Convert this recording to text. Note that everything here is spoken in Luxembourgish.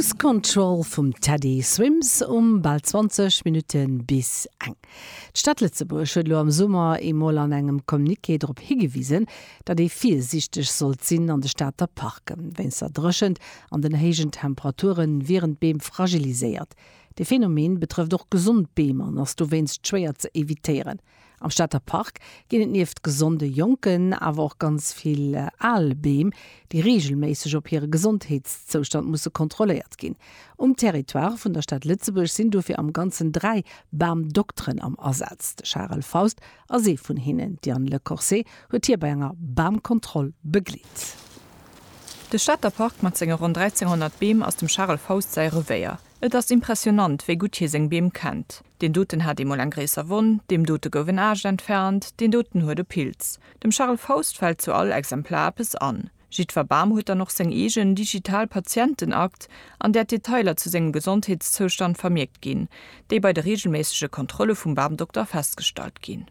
Lose Control vum Teddy Swims um bal 20 Minutte bis eng. D'Stad Lëtzebuerg huet elo am Summer eemol an engem Communiqué drop higewisen, datt ee virsiichteg sollt sinn an de Stater Parken. Wéinst der Dréchent an den héijen Temperature wieren d'Beem fragiliséiert. De Phenomen betrëfft och gesond Beem an ass dowéinst schwéier ze evitéieren. Am Stater Park ginn et nieft gesonde jonken awer och ganz vill al Beem, déi reegelméisseg op hire Gesondheetszoustand musse kontrolléiert ginn. Um Territoire vun der Stad Lëtzebuerg sinn dofir am Ganzen 3 Bamdokteren am Asaz. De Charel Faust ass ee vun hinnen. D'Diane Lecorset huet hie bei enger Bamkontroll begleet. De Stater Park mat senge ronn 1.300 Beem ass dem Charel Faust säi Revéier. Et ass impressionant, wéi gutt hie seng Beem kennt. Deen doten hat eemol eng gréisser Wonn, deem dote gouf en Aascht entfernt, deen doten huet e Pilz. Dem Charel Faust fält zu all Exemplar eppes an. Jiddwer Bam huet dann och seng eegen digital Patientenakt, an där d'Detailer zu sengem Gesondheetszoustand vermierkt ginn, déi bei de reegelméissege Kontrolle vum Bamdokter festgestallt ginn.